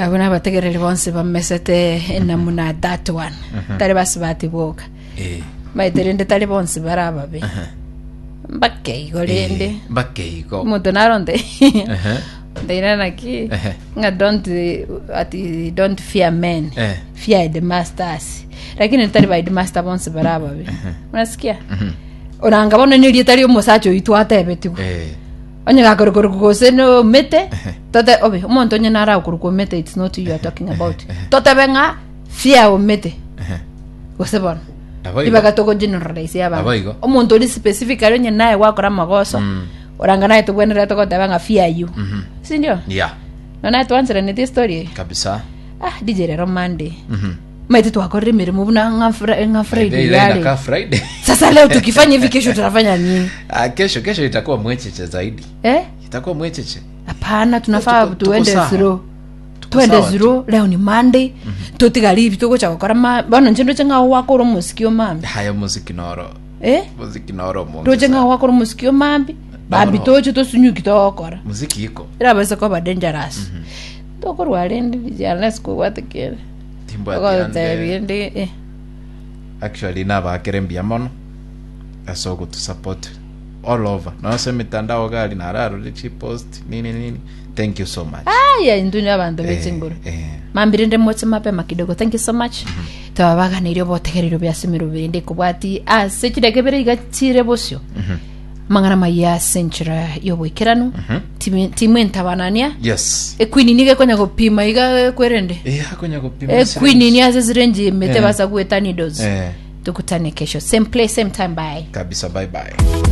Abwo nabategereri bonsi bamesete enamuna that one. Tari basubati boka. Eh. Maete rende tari bonsi bare ababe. Mbake igo rende. Eh, mbake igo. Omonto naronte. Ehe. Ndeira naki Ehe. ng'a don't eh, ati don't fear men. Eh. Fear the masters. Lakini tari ba headmaster bonsi bare ababe. Unasikia? Oranga bono nerieta riomosacha oyo twatebetigwe. Eh. Onye gakorokwa gose nomete, tote obe omonto onye nare agokorokwa omete it's not you you are talking about. Totebe ng'a fear omete gose bono. Nabo igo. Ribaga togo generalize Nabo abanto. igo. Omonto ori specifically onye naye gwakora amagoso, oranga naye tobwenerete goteba ng'a fear you. Sindio? Yeah. Nonya naye twancheranete estory eye. Kabisa. Ah, DJ rero Monday. Maete twakorire emeremo buna ng'a Fri- ng'a Friday Ile yare. inakaa Friday. Sasa leo tukifanya hivi kesho tutafanya nini? Ah, kesho kesho itakuwa mwecheche zaidi. Eh? Itakuwa mwecheche. Hapana, tunafaa Tuko- tuko tuende sawa. slow. Tuko Tuende sawa tu. slow. Leo ni Monday. Totigari ibi togocha gokora ma bono inche ndoche ng'a gwakora omosiki o mambi. Haya muziki noro. Eh? Muziki noro omonge. Ndoche ng'a sana. gwakora omosiki o mambi. Mambi no. toche tosunyuki togokora. Muziki iko. Erabase koba dangerous. Tokorwa rende DJ unless kobwate kere. Timbwati Ogotebi ande. ndi eh. Actually nabakere mbuya mono ase ogotusupport all over. Nonya ase emitandao gari nararore chipost nini nini. Thank you so much. Aya intwe ni abanto be Eh, chinguru. eh. Mambi rende moche mapema kidogo. Thank you so much. Twabaganeirie obotegererio bia ase emerobio ende ekobwati ase chidakika ibere iga chire bosio. Amang'ana amaya ase enchera y'oboikeranu. Timi- Timwentabanania. Yes. Equeen nigo ekonya gopima iga ekwerende. Eh, akonya gopima Equeen syringe. ni ase sirenji emete Eh. basa gweta needles. Eh. Tukutane kesho same place same time bye. Kabisa bye bye.